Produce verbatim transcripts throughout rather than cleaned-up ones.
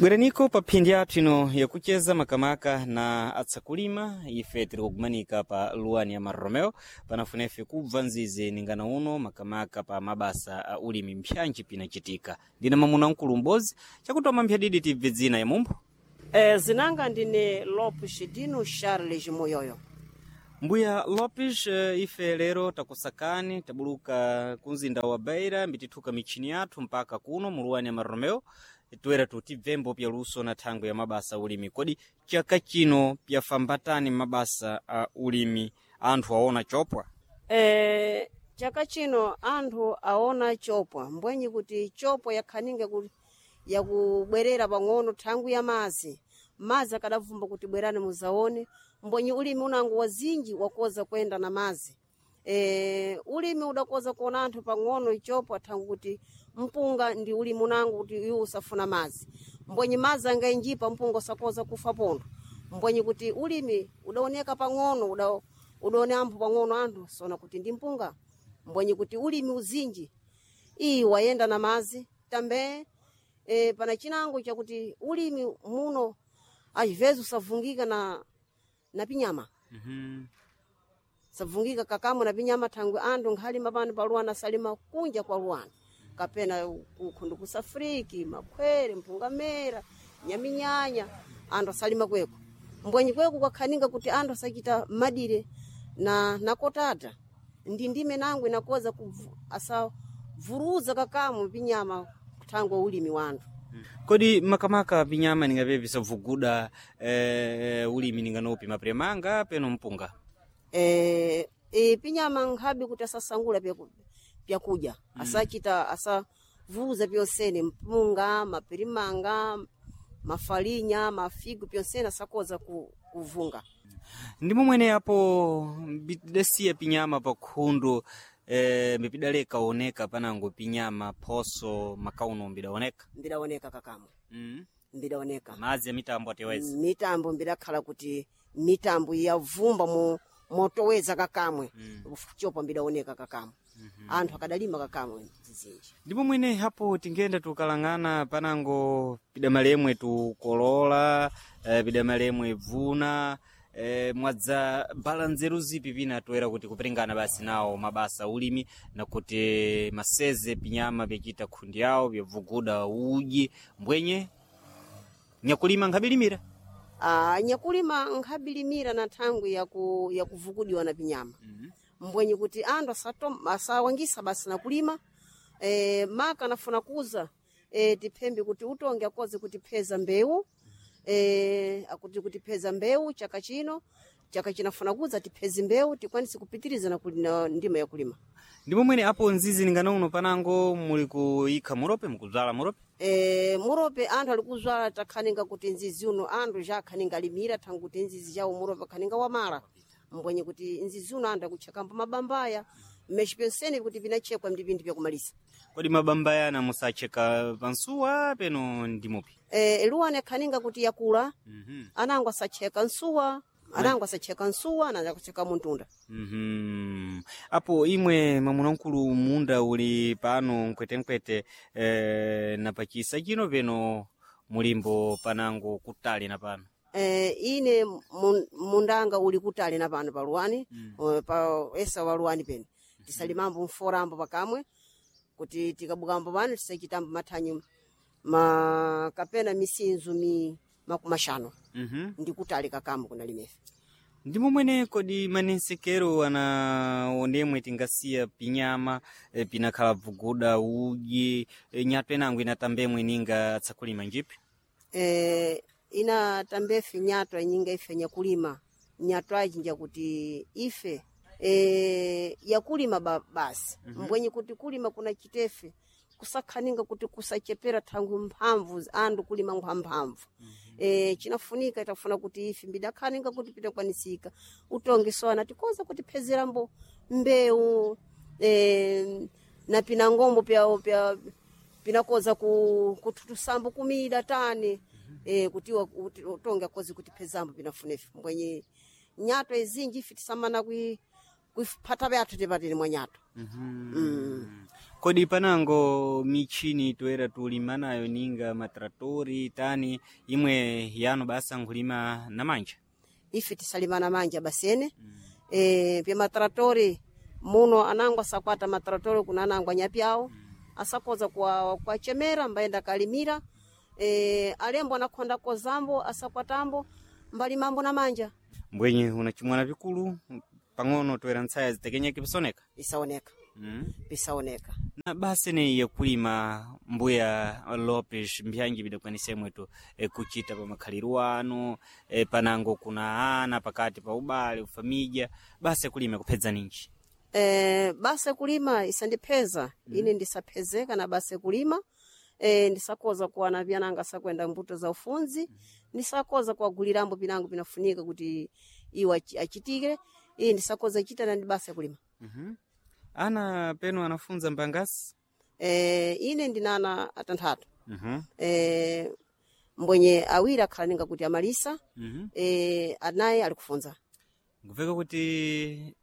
Bweraniko pa phindi yathu ino yakucheza makamaka na atsakulima ife tiri kugumanika pa luwani ya Marromeo panafuna ife kubva nzizi ningana uno makamaka pa mabasa a ulimi mpyanji pinacitika. Ndina mamuna mkulu m'bodzi chakutoma mphyadidi tibve dzina ya mumpho. Eh, zinanga ndine Lopes Dino Charles Moyoyo. Mbuya Lopes, eh, ife lero takusakani tabuluka kumzinda wa Beira mbitithuka michini yathu mpaka kuno muluwani ya Marromeo toera tutibvembo pya luso na thangwe ya mabasa a ulimi. Kodi chaka chino pyafambatani mabasa a ulimi anthu aona chopwa? Eh, chaka chino anthu aona chopwa mbwenyi kuti chopwa yakhaninga kuti yakubwerera pang'ono thangwi ya mazi mazi akadavumba kuti bwerani muzaone mbwenyi ulimi unango wazinji wakoza kwenda na mazi e, ulimi udakoza kuona anthu pang'ono ichopwa thangwi kuti mpunga ndi ulimi unango kuti iwo usafuna mazi mbwenyi mazi angainjipa mpunga usakoza kufa pondo mbwenyi kuti ulimi udaoneka pang'ono uda, udaone ampho pang'ono anthu sona kuti ndi mpunga mbwenyi kuti ulimi uzinji iyi wayenda na mazi tambe e, pana chinango chakuti ulimi muno às usavungika na, na pinyama Mm -hmm. savungika kakamwe na pinyama thangwi anthu nkhalima pano pa luwana asalima kunja kwa luwana kapena kukhundu kusafriki makhwere mpungamera nyaminyanya anthu asalima kweko mbwenyi kweko kwakhaninga kuti anthu asachita madire na nakotata ndi ndime nango inakoza kuvu- asavuruza kakamwe pinyama thangwi ulimi wa anthu. Kodi makamaka pinyama ningape pisavuguda eh, ulimi ninganopi mapiremanga peno mpunga? Eh, e, pinyama nkhabe kuti asasangula pyaku- pyakudya mm. asachita asavuza pyonsene mpunga mapirimanga mafalinya mafigu pyonsene asakoza ku, kuvunga. Ndi momwene apo mbidasiya pinyama pa khundu eh, mbipidaleka oneka panango pinyama phoso makauno mbidaoneka mbidaoneka kakamwe mm. mbidaoneka madzi ya mitambo ateweza mitambo mbidakhala kuti mitambo yavumba mu motoweza kakamwe Mm. chopa mbidaoneka kakamwe mm -hmm. anthu akadalima kakamwe zizinji. Ndipo mwene hapo tingenda tukalang'ana panango pidamalemwe tukolola eh, pidamalemwe bvuna eh, mwadza bala nzeru zipi pina toera kuti kuperingana basi nawo mabasa ulimi na kuti maseze pinyama pyachita khundi yawo pyavuguda uji mbwenye nyakulima nkabilimira. Ah, nyakulima nkabilimira na thangwi yaku, yakuvukudiwa na pinyama mm -hmm. mbwenyi kuti anthu asatom- asawangisa basi na kulima e, maka anafuna kuza e, tiphembe kuti utonge akoze kutipheza mbewu e, akuti kutipheza mbewu chaka chino chaka chinafuna kuza tipheze mbewu tikwanise kupitiriza na, kuli- na ndima yakulima. Ndipo mwene apo nzizi ningana uno panango muli kuyikha murope mukubzala murope? E, murope anthu ali kuzwala takhaninga kuti nzizi uno anthu ja akhaninga alimira thangu kuti nzizi jawo murope akhaninga wamala mbwenye kuti nzizi uno anthu akutchakambo mabambaya mmeshi pyonsene kuti pinachekwa ndi pinthu pyakumalisa. Kodi mabamba yana musacheka pansuwa peno ndimupi? E, luwani akhaninga kuti yakula mm -hmm. anango asacheka nsuwa anango asacheka nsuwa anango asacheka muntunda. Mm-hmm. Apo imwe mwamuna mkulu munda uli pano mkwetenkwete eh, na pachisa chino peno mulimbo panango kutali na pano. E, ine mun- mundanga uli kutali na pano pa luwani mm. pa esa wa luwani pene tisalimambo mforambo pakamwe kuti tikabukambo pano tisachitambo mathanyu ma kapena misinzu mi makumashano mm-hmm. ndi kutali kakamwe kunalimefe. Ndi momwene kodi manensekero ana onemwe tingasiya pinyama eh, pinakhala bvuguda uji eh, nyatwa inango inatambemwe ninga tsakulima njipi? E, ina tambefe nyatwa inyinga ife nyakulima nyatwa iji njakuti ife e, yakulima ba, basi mm -hmm. mbwenye kuti kulima kuna chitefe kusakhaninga kuti kusachepera thangwi mphamvu anthu kulima nkwa mphamvu mm -hmm. e, chinafunika itafuna kuti ife mbidakhaninga kuti pitakwanisika utonge sona tikoza kutiphezerambo mbewu e, na pinangombo pya, pya pinakoza ku, kuthutusambo kumida tani e, kuti wa- kuti utonge akoze kutiphezambo pinafunefe mbwenye nyatwa izinji ife tisamana kui kuiphata pyathu tipatile mwa nyatwa. Mm-hmm. Mm. Kodi panango michini toera tulima nayo ninga matratori tani imwe yano basa nkhulima na manja Ife tisalima na manja basene mm. E, pya matratori muno anango asakwata matratori kuna anango anyapyawo mm. asakoza kwa kwachemera mbaenda kalimira e, alembo anakhonda kozambo asakwatambo mbalimambo na manja mbwenye unachimwana vikulu pang'ono toera ntsaya zitekenyeke pisoneka isaoneka mm. pisaoneka Na basi ni yakulima mbuya Lopes mbyanji bidakwanisa imwetu e, kuchita pa makhaliro ano e, panango kuna ana pakati pa ubale ufamija basi kulima kupedza ninji e, basa kulima isandipheza mm. Ine ndisaphezeka na basa kulima e, ndisakoza kuwana vyananga sakwenda mbuto za ufunzi mm. Ndisakoza kuwagulirambo pinango pinafunika kuti iwo achi- achitike iye ndisakoza chita na ndi basa kulima mm-hmm. Ana peno anafunza mbangasi e, ine ndinana atanthatu mm-hmm. e, mbwenye awiri akhala ninga kuti amalisa mm-hmm. e, anayi ali kufunza Nguveka kuti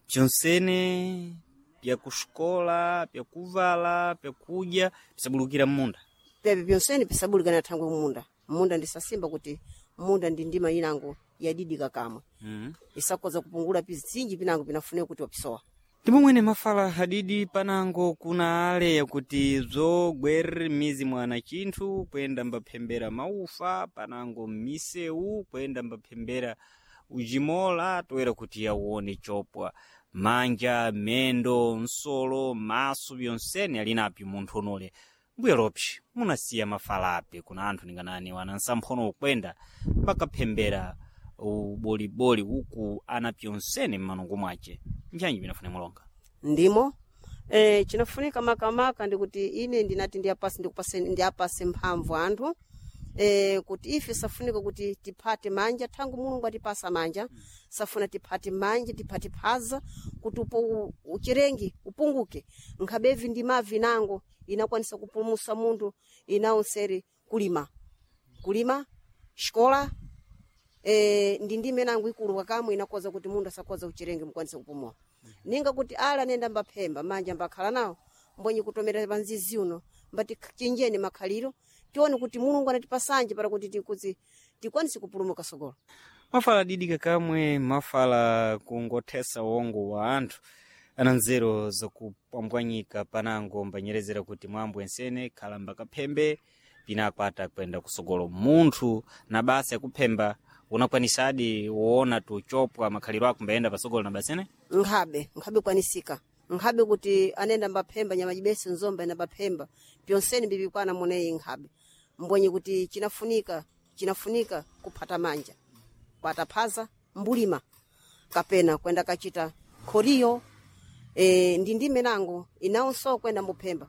pyonsene pyakuxikola pyakuvala pyakudya pisabulukira mmunda pepe pyonsene pisabulikana thangwe munda munda ndisasimba kuti munda ndi ndima inango yadidika kamwe mm-hmm. isakoza kupungula pizinji pinango pinafunika kuti wapisowa Ndipo mwene mafala hadidi panango kuna ale yakuti zogwerere mizi mwana chinthu kwenda mbaphembera maufa panango mmisewu kwenda mbaphembera ujimola toera kuti yauone chopwa manja mendo nsolo maso byonsene ali napyo munthu unole mbuya Lopes munasiya mafala api kuna anthu ninganani wana nsamphono ukwenda pakaphembera uboliboli uku ana pyonsene mmanungu mwace nchanji binafune mulonga ndimo e, chinafunika makamaka ndikuti ine ndinati ndiyapase ndikupase ndiyapase mphamvu anthu e, kuti ife safunika kuti tiphate manja thangu mulungu atipasa manja safuna tiphate manja tiphate phaza kuti upo uchirengi upunguke nkhabevi ndi mavi nango inakwanisa kupulumusa munthu inaonseri kulima kulima xikola e, ndi ndime nango ikulu kakamwe inakoza kuti munthu asakoza uchirengi mukwanise kupumula ninga kuti ala nenda mbaphemba manja mbakhala nawo mbwenye kutomera panzizi uno mbati chinjeni makhaliro tione kuti mulungu anatipasanje para kuti tikuzi tikwanise kupulumuka sogolo mafala didika kamwe mafala kungothesa wongo wa anthu ana nzeru zakupambwanyika panango mbanyerezera kuti mwambo ensene khala mbakaphembe pinakwata kwenda kusogolo munthu na basa yakuphemba unakwanisadi woona tuchopwa makhaliro ako mbayenda pasogolo na basene nkhabe nkhabe kwanisika nkhabe kuti anenda mbaphemba nyamajibese nzomba enda mbaphemba pyonseni bibikwana muneyi nkhabe mbwenye kuti chinafunika chinafunika kuphata manja kwataphaza mbulima kapena kwenda kachita khoriyo e, ndi ndime nango inawonso kwenda mbuphemba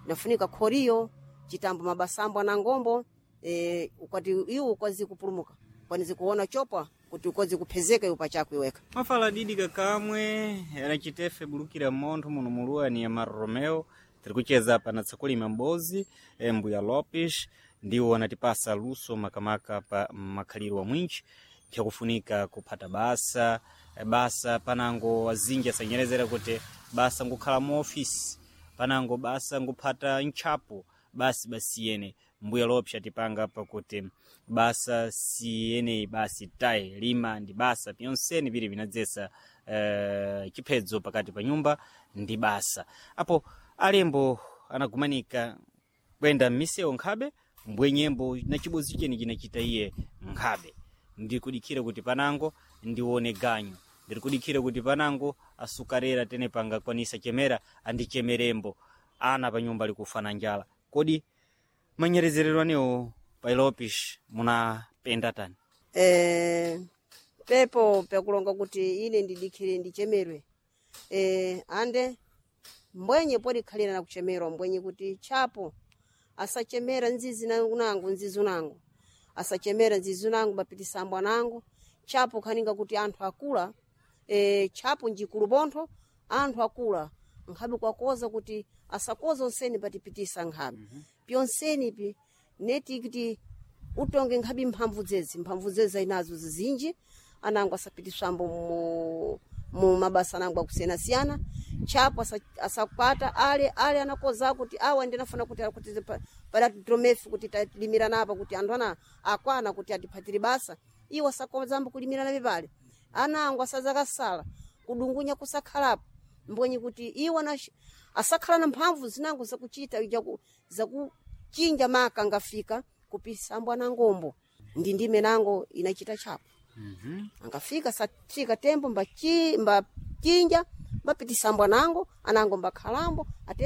nafunika khoriyo chitambo mabasambo anangombo e, ukwati iwo ukwazi kupulumuka kwanizi kuona chopwa kuti ukwazi kuphezeka iwo pachako iweka mafala didika kamwe anachitefe bulukira montho muno muluwa ni Amaro Romeo tiri kucheza apa na tsakulima mbozi eh, mbuya Lopes ndiwo anatipasa luso makamaka pa makhaliro wa mwinji pyakufunika kuphata basa eh, basa panango azinji asanyerezera kuti basa ngukhala mu ofisi panango basa nguphata ntchapo basi basiyene mbuya Lopes atipanga apa kuti basa siyeneyi basi tayi lima ndi basa pyonsene pili vinadzesa eh, chiphedzo pakati pa nyumba ndi basa apo alembo anagumanika kwenda m'misewu nkhabe mbwenyembo na chibozi cheni chinachita iye nkhabe ndikudikira kuti panango ndione ganyu ndirikudikira kuti panango asukarera tene pangakwanisa chemera andichemerembo ana pa nyumba likufana njala kodi manyerezerero anewo pa Lopes munapenda tani e, pepo pyakulonga kuti ine ndidikhire ndichemerwe e, ande mbwenye podikhalira na kuchemerwa mbwenye kuti chapo asachemera nzizi na- nangu nzizi unangu asachemera nzizi unangu bapitisambo anangu chapo khaninga kuti anthu akula e, chapo njikulu pontho anthu akula nkhabe kwakoza kuti asakoza onseni patipitisa nkhabe mm -hmm. pyonseni pi neti kuti utonge nkhabe mphamvu dzezi mphamvu dzezi ayinazo zizinji anango asapitiswambo mu mu mabasa nango akusiyana-siyana chapo asa- asakwata ale ale anakoza kuti awa ndinafuna kuti kuti pa- pada titromefu kuti talimirana apa kuti anthu ana akwana kuti atiphatire basa iwo asakozambo kulimirana pepale anango asazakasala kudungunya kusakhalapo mbwenye kuti iwo ana asakhala na mphamvu zinango zakuchita zaku- zakuchinja maka angafika kupisambwa na ngombo ndi ndime nango inachita chapo mm angafika sathika tembo mbachi mbachinja mbapitisambwa nango anango mbakhalambo ate